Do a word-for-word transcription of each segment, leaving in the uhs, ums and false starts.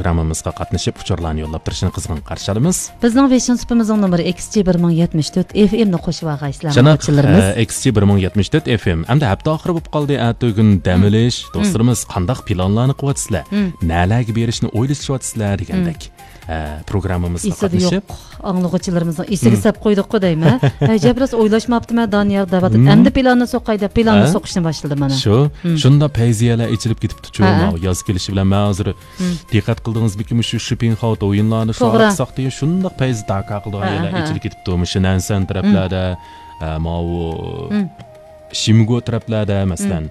پروگراممىمىزغا قاتنىشىپ، ئۇچۇرلارنى يوللاپ تۇرۇشىنى قىزغىن قارشى ئالىمىز. بىزنىڭ ۋېشىن سۇپىمىزنىڭ نومۇرى ئىكس جى بىر مىڭ يەتمىش تۆت ئېف ئېم نى قوشۇۋالغايسىلەر، شۇنداق، ئاڭلىغۇچىلىرىمىز. ئە، ئىكس جى بىر مىڭ يەتمىش تۆت ئېف ئېم. ئەمدى ھەپتە ئاخىرى بولۇپ قالدى، ئەتىگۈن دەم ئېلىش. دوستلىرىمىز، قانداق پىلانلارنى قىلىۋاتىسىلەر؟ نەلەرگە بېرىشنى ئويلىشىۋاتىسىلەر؟ دېگەندەك. ئە، پروگراممىمىزغا ئېسىدە قاتنىشىپ. يوق. ئاڭلىغۇچىلىرىمىزنىڭ ئېسىگە سەپ قويدۇققۇ دەيمەن. ئەجەب، راست ئويلاشماپتىمەن، دانىيار دەۋاتىدۇ. ئەمدى پىلاننى سوقاي دەپ، پىلاننى سوقۇشنى باشلىدى مانا. شۇ، شۇنداق پەيزىيەلەر ئېچىلىپ كېتىپتۇ، شۇ ماۋۇ ياز كېلىشى بىلەن. مەن ھازىر دىققەت قىلدىڭىزمىكىن، مۇشۇ شىپىنخاۋ دويۇنلارنى شۇنداق پەيزى داكا قىلىدىغان يەرلەر ئېچىلىپ كېتىپتۇ. مۇشۇ نەنسەن تەرەپلەردە، ئە، ماۋۇ شىمگو تەرەپلەردە، مەسىلەن،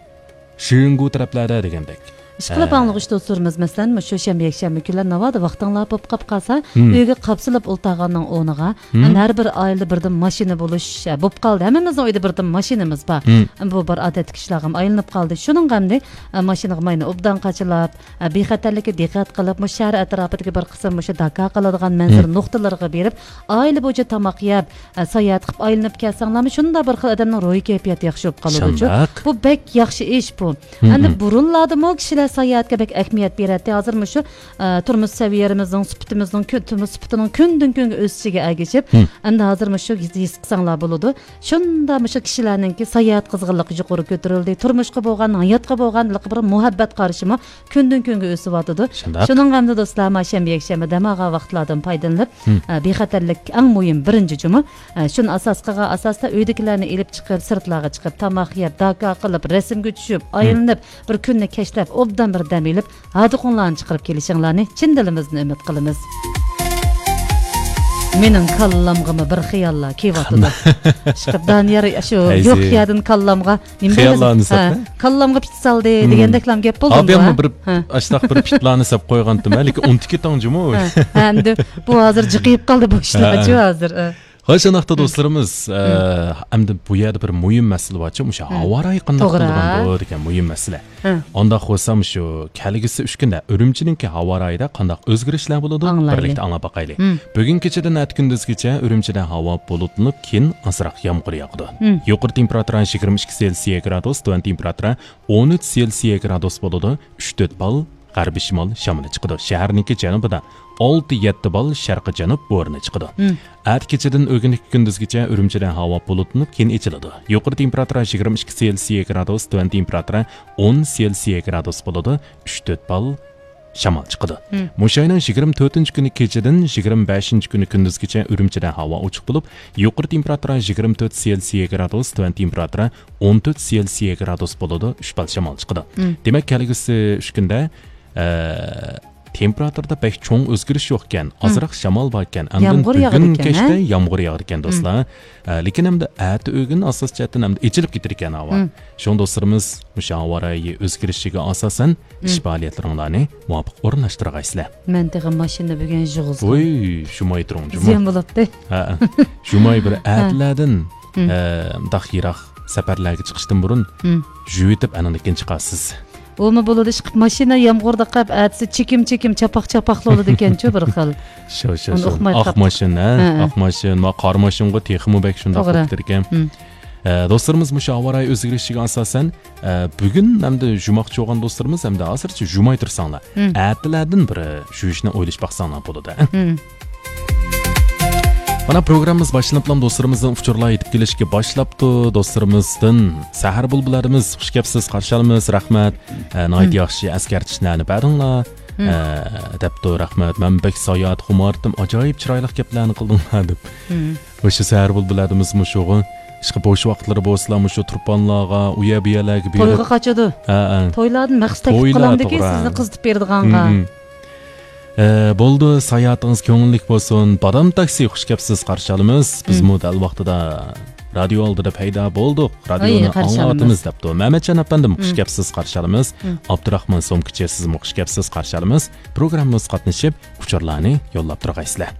شىرىنگۇ تەرەپلەردە دېگەندەك. ئىشقىلىپ ئاڭلىغۇچى دوستلىرىمىز، مەسىلەن، مۇشۇ شەنبە، يەكشەنبە كۈنلەر ناۋادا ۋاقتىڭلار بولۇپ قاپ قالسا، ئۆيگە قاپسىلىپ ئولتۇرغاننىڭ ئورنىغا، ئەنە ھەر بىر ئائىلىدە بىردىن ماشىنا بولۇش، ئە، بولۇپ قالدى. ھەممىمىزنىڭ ئۆيىدە بىردىن ماشىنىمىز بار. ئەمما بۇ بىر ئادەتتىكى ئىشلارغىمۇ ئايلىنىپ قالدى. شۇنىڭغا ئەمدى، ئە، ماشىنىغا ماينى ئوبدان قاچىلاپ، ئە، بىخەتەرلىككە دىققەت قىلىپ، مۇشۇ شەھەر ئەتراپىدىكى بىر قىسىم مۇشۇ داكا قىلىدىغان مەنزىرە نۇقتىلىرىغا بېرىپ، ئائىلە بويىچە تاماق يەپ، ئە، ساياھەت قىلىپ ئايلىنىپ كەلسەڭلارمۇ، شۇنداق بىر خىل ئادەمنىڭ روھىي كەيپىياتى ياخشى بولۇپ قالىدۇ. شۇنداق. بۇ بەك ياخشى ئىش بۇ. ئەمدى بۇرۇنلاردىمۇ كىشىلەر ساياھەتكە بەك ئەھمىيەت بېرەتتى. ھازىر مۇشۇ، ئە، تۇرمۇش سەۋىيەمىزنىڭ، سۈپىتىمىزنىڭ كۈ-، تۇرمۇش سۈپىتىنىڭ كۈندىن كۈنگە ئۆسۈشىگە ئەگىشىپ، ئەمدى ھازىر مۇشۇ ھېس، ھېس قىلساڭلار بولىدۇ. شۇنداق مۇشۇ كىشىلەرنىڭكى ساياھەت قىزغىنلىقى يۇقىرى كۆتۈرۈلدى. تۇرمۇشقا بولغان، ھاياتقا بولغان بىر مۇھەببەت قارىشىمۇ كۈندىن كۈنگە ئۆسۈۋاتىدۇ. شۇنداق. شۇنىڭغا ئەمدى دوستلار، ما شەنبە، يەكشەنبە دەم ئالغان ۋاقىتلاردىن پايدىلىنىپ، ئە، بىخەتەرلىك ئەڭ مۇھىم بىرىنچى جۇمۇ. ئە، شۇنى ئاساس قىلغان ئاساستا ئۆيدىكىلەرنى ئېلىپ چىقىپ، سىرتلارغا چىقىپ، تاماق يەپ، داكا قىلىپ، رەسىمگە چۈشۈپ، ئايلىنىپ، بىر كۈننى كەشلەپ، ئوبدان بىر دەم ئېلىپ، ھاردۇقۇڭلارنى چىقىرىپ كېلىشىڭلارنى چىن دىلىمىزدىن ئۈمىد قىلىمىز. مېنىڭ كاللامغىمۇ بىر خىياللار كېلىۋاتىدۇ. ئىشقىلىپ دانىيار شۇ يوق يەردىن كاللامغا نېمە دەيمىز؟ خىياللارنى سەپ، ھە، كاللامغا پىت سالدى دېگەندەكلام گەپ بولدىمۇ؟ ئاپاممۇ بىر ئاشۇنداق بىر پىتلارنى سەپ قويغانتىم، لېكىن ئۇنتۇپ كېتىڭ جۇمۇ. ھە، ھە، ئەمدى بۇ ھازىر جىقىيىپ قالدى بۇ ئىشلارچۇ ھازىر. ھە. ھاي، شۇنداقتا دوستلىرىمىز، ئە، ئەمدى بۇ يەردە بىر مۇھىم مەسىلە بارچۇ، مۇشۇ ھاۋا رايى قانداق توغرا بولىدىغاندۇ دېگەن مۇھىم مەسىلە. ئانداق بولسا، مۇشۇ كەلگۈسى ئۈچ كۈندە ئۈرۈمچىنىڭكى ھاۋا رايىدا قانداق ئۆزگىرىشلەر بولىدۇ؟ ئاڭلايلى. بىرلىكتە ئاڭلاپ باقايلى. بۈگۈن كېچىدىن ئەتە كۈندۈزگىچە ئۈرۈمچىدە ھاۋا بۇلۇتلىنىپ، كېيىن ئازراق يامغۇر ياغىدۇ. يۇقىرى تېمپېراتۇرا يىگىرمە ئىككى سېلسىيە گرادۇس، تۆۋەن تېمپېراتۇرا ئون ئۈچ سېلسىيە گرادۇس بولىدۇ. ئۈچ تۆت بال غەربىي شىمال شامىلى چىقىدۇ. شەھەرنىڭكى جەنۇبىدا ئالتە يەتتە بال شەرقىي جەنۇب بورىنى چىقىدۇ. ئەتە كېچىدىن ئۆگۈنلۈك كۈندۈزگىچە ئۈرۈمچىدە ھاۋا بۇلۇتلىنىپ، كېيىن ئېچىلىدۇ. يۇقىرى تېمپېراتۇرا يىگىرمە ئىككى سېلسىيە گرادۇس، تۆۋەن تېمپېراتۇرا ئون سېلسىيە گرادۇس بولىدۇ. ئۈچ تۆت بال شامال چىقىدۇ. مۇشۇ ئاينىڭ يىگىرمە تۆتىنچى كۈنى كېچىدىن يىگىرمە بەشىنچى كۈنى كۈندۈزگىچە ئۈرۈمچىدە ھاۋا ئوچۇق بولۇپ، يۇقىرى تېمپېراتۇرا يىگىرمە تۆت سېلسىيە گرادۇس، تۆۋەن تېمپېراتۇرا ئون تۆت سېلسىيە گرادۇس بولىدۇ، ئۈچ بال شامال چىقىدۇ. دېمەك، كەلگۈسى ئۈچ كۈندە، ئە، تېمپېراتۇرىدا بەك چوڭ ئۆزگىرىش يوق ئىكەن، ئازراق شامال بار ئىكەن. ئاندىن يامغۇر ياغىدىكەن، بۈگۈن كەچتە يامغۇر ياغىدىكەن، دوستلار. ئە، لېكىن ئەمدى ئەتە ئۆگۈن ئاساسىي جەھەتتىن ئەمدى ئېچىلىپ كېتىدىكەن ھاۋا. شۇڭا دوستلىرىمىز، مۇشۇ ھاۋا رايى ئۆزگىرىشىگە ئاساسەن، ئىش پائالىيەتلىرىڭلارنى مۇۋاپىق ئورۇنلاشتۇرغايسىلەر. مەن تېخى ماشىنا بۈگۈن يۇغۇزدۇم. ۋوي، شۇماي تۇرۇڭ، جۇمۇ. زىيان بولۇپتۇ. ھە، شۇماي بىر ئەتىلەردىن، ئە، مۇنداق يىراق سەپەرلەرگە چىقىشتىن بۇرۇن يۇيۇۋېتىپ، ئاندىن كېيىن چىقارسىز. ئۇمۇ بولىدۇ، ئىشقىپ ماشىنا يامغۇردا قاپ، ئەتىسى چېكىم-چېكىم، چاپاق-چاپاقلا بولىدىكەنچۇ بىر خىل. شۇ، شۇ، ئۇنى شۇ. ئۇقماي ئاق قاپتۇ. ماشىنا، ھە، ھە. ئاق ماشىنا، ما قارا ماشىنىغۇ تېخىمۇ بەك شۇنداق توغرا. بولۇپ كېتىدىكەن. ئە، دوستلىرىمىز، مۇشۇ ھاۋا رايى ئۆزگىرىشىگە ئاساسەن، ئە، بۈگۈن ئەمدى يۇماقچى بولغان دوستلىرىمىز ئەمدى ھازىرچە يۇماي تۇرساڭلار. ئەتىلەردىن بىر يۇيۇشنى ئويلىشىپ باقساڭلار بولىدۇ. مانا، پروگراممىمىز باشلىنىپلا دوستلىرىمىزدىن ئۇچۇرلار يېتىپ كېلىشكە باشلاپتۇ. دوستلىرىمىزدىن سەھەر بۇلبۇللىرىمىز، خۇش كەپسىز، قارشى ئالىمىز، رەھمەت. ئە، ناھايىتى ياخشى ئەسكەرتىشلەرنى بەردىڭلار. ئە، دەپتۇ، رەھمەت. مەن بەك ساياھەت خۇمارتىم، ئاجايىپ چىرايلىق گەپلەرنى قىلدىڭلار دەپ. مۇشۇ سەھەر بۇلبۇللاردا بىز مۇشۇغا ئىشقىلىپ بوش ۋاقىتلىرى بولسىلا، مۇشۇ تۇرپانلارغا، ئۇ يەر بۇ يەرلەرگە بېرىپ تويغا قاچىدۇ. ھە، ھە. تويلاردىن مەقسەت تېپىپ تويلار، قالامدىكى توغرا. سىزنى قىزىتىپ بېرىدىغانغا. ئە، بولدى، ساياھىتىڭىز كۆڭۈللۈك بولسۇن. بادام تاكسى، خۇش كەپسىز، قارشى ئالىمىز. بىزمۇ دەل ۋاقتىدا رادىيو ئالدىدا پەيدا بولدۇق. رادىيونى ئاڭلاۋاتىمىز دەپتۇ. مەمەتجان ئەپەندىم، خۇش كەپسىز، قارشى ئالىمىز. ئابدۇراخمان سومكىچى، سىزمۇ خۇش كەپسىز، قارشى ئالىمىز. پروگراممىمىزغا قاتنىشىپ، ئۇچۇرلارنى يوللاپ تۇرغايسىلەر.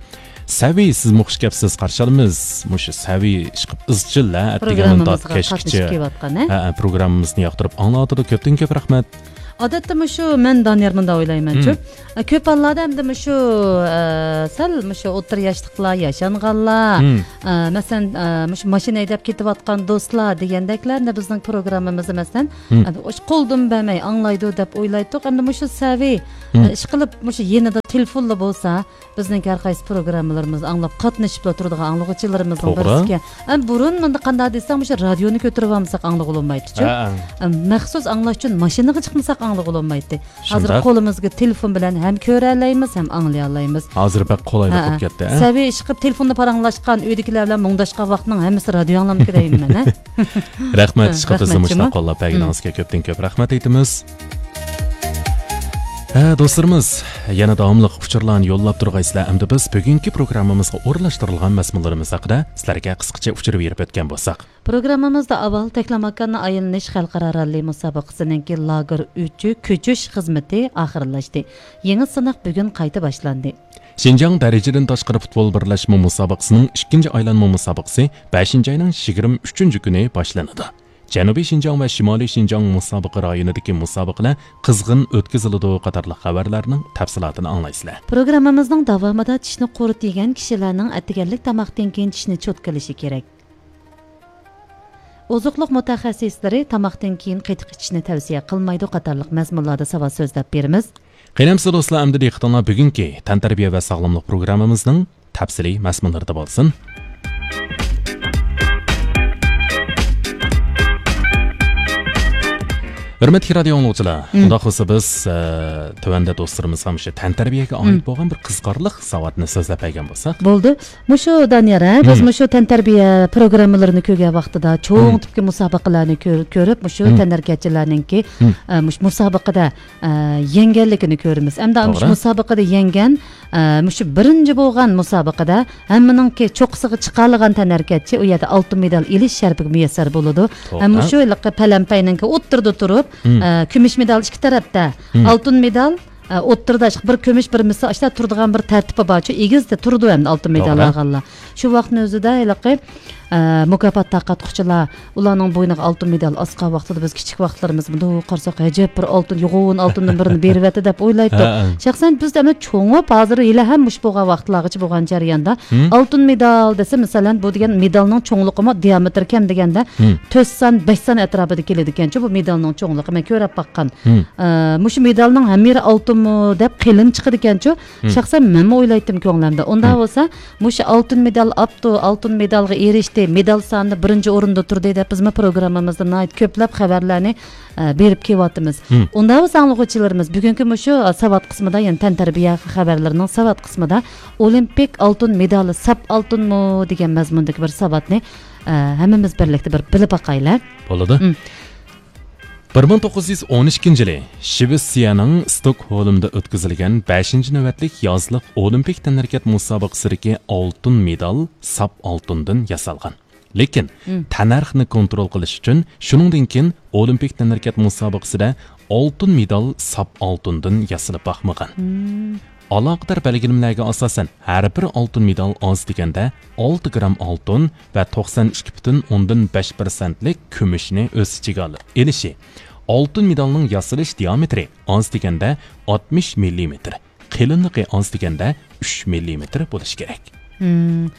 سەۋى، سىزمۇ خۇش كەپسىز، قارشى ئالىمىز. مۇشۇ سەۋى ئىشقىپ ئىزچىل، ھە، ئەتىگەندىن تارتىپ كەچكىچە. ھە، ھە، پروگراممىمىزنى ياقتۇرۇپ ئاڭلاۋاتىدۇ. كۆپتىن كۆپ رەھمەت. ئادەتتە مۇشۇ مەن دانىيار مۇنداق ئويلايمەنچۇ. ئە، كۆپ ھاللاردا ئەمدى مۇشۇ، ئە، سەل مۇشۇ ئوتتۇرا ياشلىقلار، ياشانغانلار، ئە، مەسىلەن، ئە، مۇشۇ ماشىنا ھەيدەپ كېتىۋاتقان دوستلار دېگەندەكلەر ئەمدى بىزنىڭ پروگراممىمىزنى، مەسىلەن، ئە، قولدىن بەرمەي ئاڭلايدۇ دەپ ئويلايتتۇق. ئەمدى مۇشۇ سەۋى، ئە، ئىشقىلىپ مۇشۇ يېنىدا تېلېفونلا بولسا، بىزنىڭ ھەر قايسى پروگراممىلىرىمىزنى ئاڭلاپ، قاتنىشىپلا تۇرىدىغان ئاڭلىغۇچىلىرىمىزنىڭ توغرا. بىرسىكەن. ئەم، بۇرۇن مۇنداق قانداق دېسەڭ، مۇشۇ رادىيونى كۆتۈرۈپ ئالمىساق ئاڭلىغىلى بولمايتتىچۇ. ھە. ئەم، مەخسۇس ئاڭلاش ئۈچۈن ماشىنىغا چىقمىساق ئاڭلىغىلى بولمايتتى. ھازىر شۇنداق. قولىمىزغا تېلېفون بىلەن ھەم كۆرەلەيمىز، ھەم ئاڭلىيالايمىز. ھازىر بەك قولايلىق ھە، بولۇپ ھە. كەتتى، ھە؟ سەۋىيە ئىشقىپ تېلېفوندا پاراڭلاشقان ئۆيدىكىلەر بىلەن مۇڭداشقان ۋاقىتنىڭ ھەممىسى رادىيو ئاڭلامدىكى دەيمەن، ھە؟ رەھمەت، ھە، ئىشقىپ بىزنى رەھمەتچىمۇ. مۇشۇنداق قوللاپ بەرگىنىڭىزگە كۆپتىن كۆپ رەھمەت ئېيتىمىز. ھە، دوستلىرىمىز، يەنە داۋاملىق ئۇچۇرلارنى يوللاپ تۇرغايسىلەر. ئەمدى بىز بۈگۈنكى پروگراممىمىزغا ئورۇنلاشتۇرۇلغان مەزمۇنلىرىمىز ھەققىدە سىلەرگە قىسقىچە ئۇچۇر بېرىپ ئۆتكەن بولساق. پروگراممىمىزدا ئاۋۋال تەكلىماكاننى ئايلىنىش خەلقئارا راللى مۇسابىقىسىنىڭكى لاگېر ئۈچى كۆچۈش خىزمىتى ئاخىرلاشتى. يېڭى سىناق بۈگۈن قايتا باشلاندى. شىنجاڭ دەرىجىدىن تاشقىرى پۇتبول بىرلەشمە مۇسابىقىسىنىڭ ئىككىنچى ئايلانما مۇسابىقىسى بەشىنچى ئاينىڭ يىگىرمە ئۈچىنچى كۈنى باشلىنىدۇ. جەنۇبىي شىنجاڭ ۋە شىمالىي شىنجاڭ مۇسابىقە رايونىدىكى مۇسابىقىلەر قىزغىن ئۆتكۈزۈلىدۇ قاتارلىق خەۋەرلەرنىڭ تەپسىلاتىنى ئاڭلايسىلەر. پروگراممىمىزنىڭ داۋامىدا چىشنى قۇرۇت يېگەن كىشىلەرنىڭ ئەتىگەنلىك تاماقتىن كېيىن چىشنى چوتكىلىشى كېرەك. ئوزۇقلۇق مۇتەخەسسىسلىرى تاماقتىن كېيىن قېتىق ئىچىشنى تەۋسىيە قىلمايدۇ قاتارلىق مەزمۇنلاردا ساۋات سۆزلەپ بېرىمىز. قېنى ئەمىسە دوستلار، ئەمدى دىققىتىڭلار بۈگۈنكى تەنتەربىيە ۋە ساغلاملىق پروگراممىمىزنىڭ تەپسىلىي مەزمۇنلىرىدا بولسۇن. ھۆرمەتلىك رادىيو ئاڭلىغۇچىلار، مم. ئۇنداق بولسا بىز، ئە، تۆۋەندە دوستلىرىمىزغا مۇشۇ تەنتەربىيەگە ئائىت مم. بولغان بىر قىزىقارلىق ساۋاتنى سۆزلەپ بەرگەن بولساق. بولدى. مۇشۇ دانىيار، ھە، بىز مم. مۇشۇ تەنتەربىيە پروگراممىلىرىنى كۆرگەن ۋاقتىدا چوڭ مم. تىپكى مۇسابىقىلەرنى كۆر-، كۆرۈپ، مۇشۇ مم. تەنھەرىكەتچىلەرنىڭكى، مم. ئە، مۇشۇ مۇسابىقىدە، ئە، يەڭگەنلىكىنى كۆرىمىز. ئەمدى مۇشۇ توغرا. مۇسابىقىدە يەڭگەن، ئە، مۇشۇ بىرىنچى بولغان مۇسابىقىدە ھەممىنىڭكى چوققىسىغا چىقالىغان تەنھەرىكەتچى ئۇ يەردە ئالتۇن مېدال ئېلىش شەرىپىگە مۇيەسسەر بولىدۇ. توغرا. ھەم مۇشۇ ھېلىقى پەلەمپەينىڭكى ئوتتۇرىدا تۇرۇپ، مم. ئە، كۈمۈش مېدال ئىككى تەرەپتە، مم. ئالتۇن مېدال، ئە، ئوتتۇرىدا بىر كۈمۈش، بىر مىس ئاشتا تۇرىدىغان بىر تەرتىپى بارچۇ، ئېگىزدە تۇرىدۇ ئەمدى ئالتۇن مېدال توغرا. ئالغانلار. شۇ ۋاقىتنىڭ ئۆزىدە ھېلىقى، ئە، مۇكاپات تارقاتقۇچىلار ئۇلارنىڭ بوينىغا ئالتۇن مېدال ئاسقان ۋاقتىدا بىز كىچىك ۋاقىتلىرىمىزدا مۇنداق قارىساق، ئەجەب بىر ئالتۇن، يوغان ئالتۇندىن بىرنى بېرىۋەتتى دەپ ئويلايتتۇق. ھە، ھە. شەخسەن بىز ئەمدى چوڭۇپ، ھازىر ھېلىھەم مۇشۇ بولغان ۋاقىتلارغىچە بولغان جەرياندا مم. ئالتۇن مېدال دېسە، مەسىلەن، بۇ دېگەن مېدالنىڭ چوڭلۇقىمۇ دىيامېتىر كەم دېگەندە مم. تۆت سان، بەش سان ئەتراپىدا كېلىدىكەنچۇ بۇ مېدالنىڭ چوڭلۇقى. مەن كۆرۈپ باققان. مم. ئە، مۇشۇ مېدالنىڭ ھەممىرى ئالتۇنمۇ دەپ قېلىن چىقىدىكەنچۇ. مم. شەخسەن مەنمۇ ئويلايتتىم كۆڭلۈمدە. ئۇنداق مم. بولسا، مۇشۇ ئالتۇن مېدال ئاپتۇ، ئالتۇن مېدالغا ئېرىشتى، مېدال سانىدا بىرىنچى ئورۇندا تۇردى دەپ بىزمۇ پروگراممىمىزدا ناھايىتى كۆپلەپ خەۋەرلەرنى، ئە، بېرىپ كېلىۋاتىمىز. مم. ئۇنداق بولسا ئاڭلىغۇچىلىرىمىز بۈگۈنكى مۇشۇ، ئە، ساۋات قىسمىدا، يەنى تەنتەربىيە خەۋەرلىرىنىڭ ساۋات قىسمىدا ئولىمپىك ئالتۇن مېدالى ساپ ئالتۇنمۇ دېگەن مەزمۇندىكى بىر ساۋاتنى، ئە، ھەممىمىز بىرلىكتە بىر بىلىپ باقايلى. بولىدۇ. مم. بىر مىڭ توققۇز يۈز ئون ئىككىنچى يىلى شىۋېتسىيەنىڭ ستوكھولمدا ئۆتكۈزۈلگەن بەشىنچى نۆۋەتلىك يازلىق ئولىمپىك تەنھەرىكەت مۇسابىقىسىدىكى ئالتۇن مېدال ساپ ئالتۇندىن ياسالغان. لېكىن مم. تەننەرخنى كونترول قىلىش ئۈچۈن شۇنىڭدىن كېيىن ئولىمپىك تەنھەرىكەت مۇسابىقىسىدە ئالتۇن مېدال ساپ ئالتۇندىن ياسىلىپ باقمىغان. مم. ئالاقىدار بەلگىلىمىلەرگە ئاساسەن، ھەر بىر ئالتۇن مېدال ئاز دېگەندە ئالتە گرام ئالتۇن ۋە توقسان ئىككى پۈتۈن ئوندىن بەش پىرسەنتلىك كۈمۈشنى ئۆز ئىچىگە ئال-، ئېلىشى، ئالتۇن مېدالنىڭ ياسىلىش دىئامېتىرى ئاز دېگەندە ئاتمىش مىللىمېتىر، قېلىنلىقى ئاز دېگەندە ئۈچ مىللىمېتىر بولۇشى كېرەك. مم.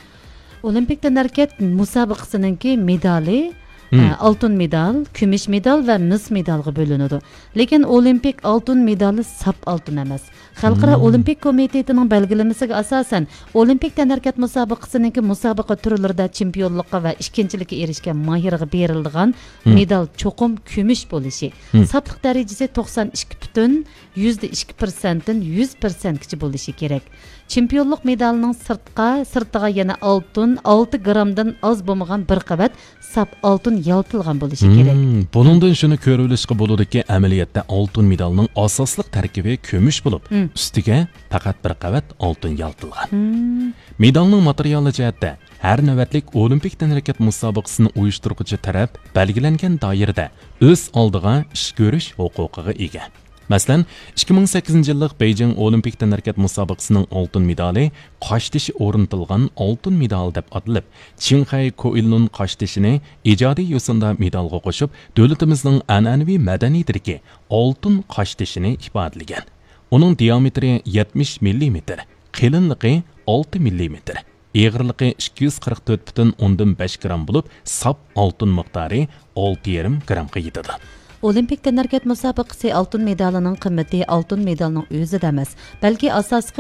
ئولىمپىك تەنھەرىكەت مۇسابىقىسىنىڭكى مېدالى، مم. ئە، ئالتۇن مېدال، كۈمۈش مېدال ۋە مىس مېدالغا بۆلۈنىدۇ. لېكىن ئولىمپىك ئالتۇن مېدالى ساپ ئالتۇن ئەمەس. خەلقئارا مم. ئولىمپىك كومىتېتىنىڭ بەلگىلىمىسىگە ئاساسەن، ئولىمپىك تەنھەرىكەت مۇسابىقىسىنىڭكى مۇسابىقە تۈرلىرىدە چېمپىيونلۇققا ۋە ئىككىنچىلىككە ئېرىشكەن ماھىرغا بېرىلىدىغان مم. مېدال چوقۇم كۈمۈش بولۇشى، مم. ساپلىق دەرىجىسى توقسان ئىككى پۈتۈن يۈزدە ئىككى پىرسەنتتىن يۈز پىرسەنتكىچە بولۇشى كېرەك. چېمپىيونلۇق مېدالىنىڭ سىرتقا، سىرتىغا يەنە ئالتۇن، ئالتە گرامدىن ئاز بولمىغان بىر قەۋەت ساپ ئالتۇن يالتىلغان بولۇشى كېرەك. مم، بۇنىڭدىن شۇنى كۆرۈۋېلىشقا بولىدۇكى، ئەمەلىيەتتە ئالتۇن مېدالنىڭ ئاساسلىق تەركىبى كۈمۈش بولۇپ، مم. ئۈستىگە پەقەت بىر قەۋەت ئالتۇن يالتىلغان. مم. مېدالنىڭ ماتېرىيالى جەھەتتە ھەر نۆۋەتلىك ئولىمپىك تەنھەرىكەت مۇسابىقىسىنى ئۇيۇشتۇرغۇچى تەرەپ بەلگىلەنگەن دائىرىدە ئۆز ئالدىغا ئىش كۆرۈش ھوقۇقىغا ئىگە. مەسىلەن، ئىككى مىڭ سەككىزىنچى يىللىق بېيجىڭ ئولىمپىك تەنھەرىكەت مۇسابىقىسىنىڭ ئالتۇن مېدالى قاشتېشى ئورنىتىلغان ئالتۇن مېدال دەپ ئاتىلىپ، چىڭخەي كوئىلنۇن قاشتېشىنى ئىجادىي يوسۇندا مېدالغا قوشۇپ، دۆلىتىمىزنىڭ ئەنئەنىۋى مەدەنىيىتىدىكى ئالتۇن قاشتېشىنى ئىپادىلىگەن. ئۇنىڭ دىئامېتىرى يەتمىش مىللىمېتىر، قېلىنلىقى ئالتە مىللىمېتىر، ئېغىرلىقى ئىككى يۈز قىرىق تۆت پۈتۈن ئوندىن بەش گرام بولۇپ، ساپ ئالتۇن مىقدارى ئالتە يېرىم گرامغا يېتىدۇ. ئولىمپىك تەنھەرىكەت مۇسابىقىسى ئالتۇن مېدالىنىڭ قىممىتى ئالتۇن مېدالنىڭ ئۆزىدە ئەمەس، بەلكى ئاساسلىقى